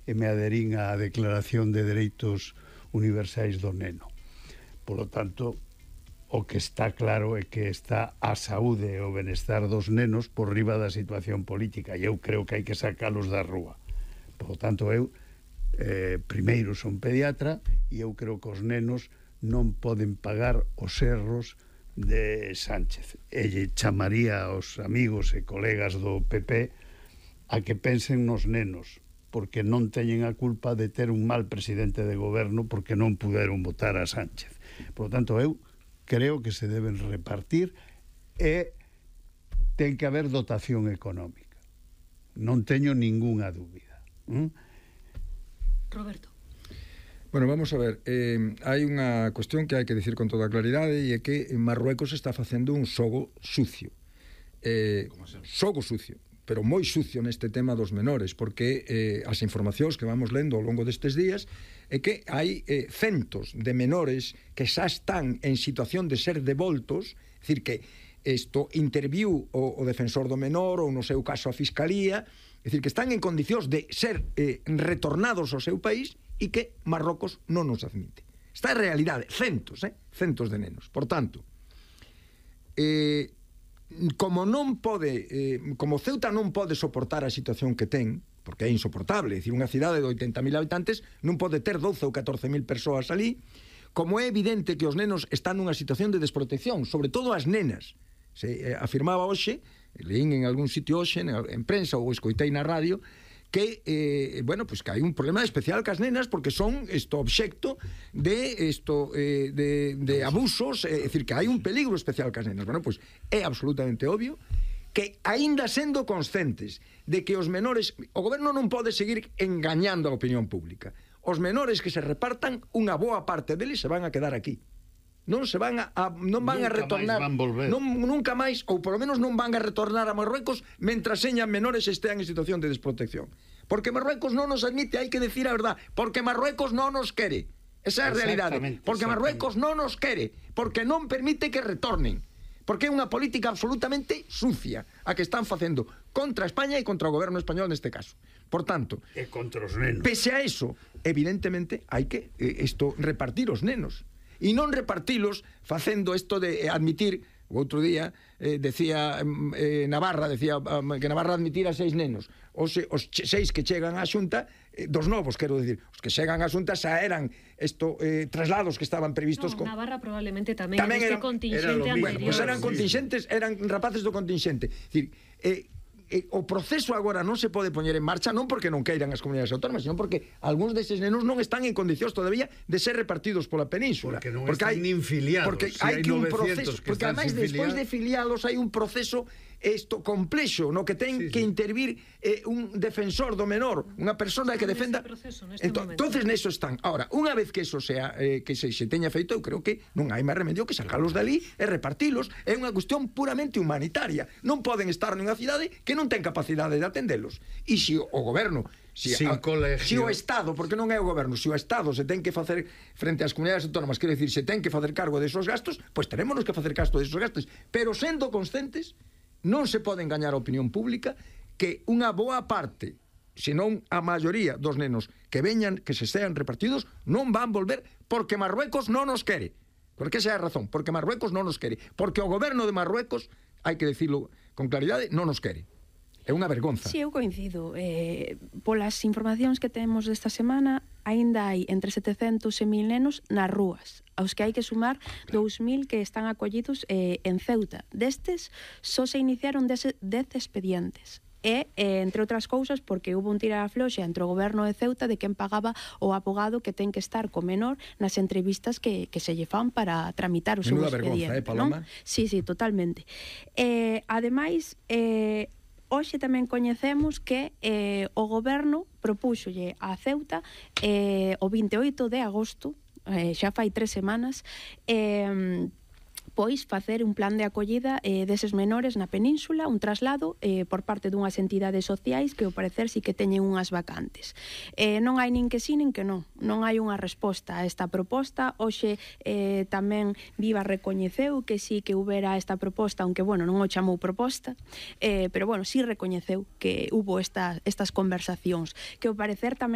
e me aderín á Declaración de Dereitos Universais do Neno. Por lo tanto, o que está claro é que está a saúde e o benestar dos nenos por riba da situación política, e eu creo que hai que sacalos da rúa. Por lo tanto, eu primeiro son pediatra e eu creo que os nenos non poden pagar os erros de Sánchez, e lle chamaría aos amigos e colegas do PP a que pensen nos nenos, porque non teñen a culpa de ter un mal presidente de goberno porque non puderon votar a Sánchez. Por lo tanto, eu creo que se deben repartir e ten que haber dotación económica, non teño ningunha dúbida. Roberto. Bueno, vamos a ver, hai unha cuestión que hai que dicir con toda claridade, e é que Marruecos está facendo un xogo sucio. Xogo sucio, pero moi sucio neste tema dos menores, porque as informacións que vamos lendo ao longo destes días é que hai centos de menores que xa están en situación de ser devoltos, é dicir, que isto interviu o defensor do menor ou no seu caso a Fiscalía, é dicir, que están en condicións de ser retornados ao seu país e que Marrocos non nos admite. Esta é a realidade, centos de nenos. Por tanto, como non pode, como Ceuta non pode soportar a situación que ten, porque é insoportable, é dicir, unha cidade de 80.000 habitantes non pode ter 12 ou 14.000 persoas ali, como é evidente que os nenos están nunha situación de desprotección, sobre todo as nenas. Se afirmaba hoxe, leín en algún sitio hoxe, en prensa ou escoitei na radio, que, bueno, pues que hai un problema especial cas nenas porque son obxecto de abusos, é dicir, que hai un peligro especial cas nenas. Bueno, pues é absolutamente obvio que, aínda sendo conscientes de que os menores, o goberno non pode seguir engañando a opinión pública. Os menores que se repartan, unha boa parte deles se van a quedar aquí. Non se van a retornar, nunca máis, ou polo menos non van a retornar a Marruecos mentras señan menores e estean en situación de desprotección. Porque Marruecos non nos admite, hai que decir a verdad, porque Marruecos non nos quere. Esa é a realidade. Porque Marruecos non nos quere, porque non permite que retornen. Porque é unha política absolutamente sucia a que están facendo contra España e contra o goberno español neste caso. Por tanto, e contra os nenos. Pese a eso, evidentemente, hai que repartir os nenos. E non repartilos facendo isto de admitir. O outro día decía Navarra, que Navarra admitira 6 nenos. Os 6 que chegan á Xunta, dos novos, quero dicir, os que chegan á Xunta xa eran traslados que estaban previstos. Navarra probablemente tamén era contingente anterior. Bueno, pues eran contingentes, eran rapaces do contingente. É dicir, o proceso agora non se pode poñer en marcha non porque non queiran as comunidades autónomas, sino porque algúns deses nenos non están en condicións todavía de ser repartidos pola península. Porque non están nin filiados. Porque hai que un proceso, porque ademais despois de filialos hai un proceso complexo no que ten que intervir un defensor do menor, unha persona que defenda. Entonces neso están. Ahora, unha vez que eso sea que se teña feito, eu creo que non hai máis remedio que salgalos dali e repartilos. É unha cuestión puramente humanitaria. Non poden estar nunha cidade que non ten capacidade de atendelos. E se o goberno, se o Estado, porque non é o goberno, se o Estado se ten que facer frente ás comunidades autónomas, quero dicir, se ten que facer cargo desos gastos, pois tenémonos que facer cargo desos gastos, pero sendo conscientes, non se pode engañar a opinión pública que unha boa parte, senón a maioría dos nenos que veñan, que se sean repartidos, non van volver porque Marruecos non nos quere. Porque esa é a razón, porque Marruecos non nos quere, porque o goberno de Marruecos, hai que decirlo con claridade, non nos quere. É unha vergonza. Si, eu coincido. Polas informacións que temos desta semana, aínda hai entre 700 e 1.000 nenos nas rúas, aos que hai que sumar 2.000 que están acollidos en Ceuta. Destes, só se iniciaron 10 expedientes. E, entre outras cousas, porque hubo un tira a floxa entre o goberno de Ceuta de quen pagaba o abogado que ten que estar co menor nas entrevistas que se lle fan para tramitar o seu expediente. Paloma? Sí, totalmente. Ademais, hoxe tamén coñecemos que o goberno propúxolle a Ceuta o 28 de agosto, xa fai 3 semanas, pois facer un plan de acollida deses menores na península, un traslado por parte dunhas entidades sociais que ao parecer sí que teñen unhas vacantes. Non hai nin que sí nin que non hai unha resposta a esta proposta. Hoxe tamén Viva recoñeceu que sí que houbera esta proposta, aunque bueno, non o chamou proposta, pero bueno, sí recoñeceu que hubo estas conversacións, que ao parecer tamén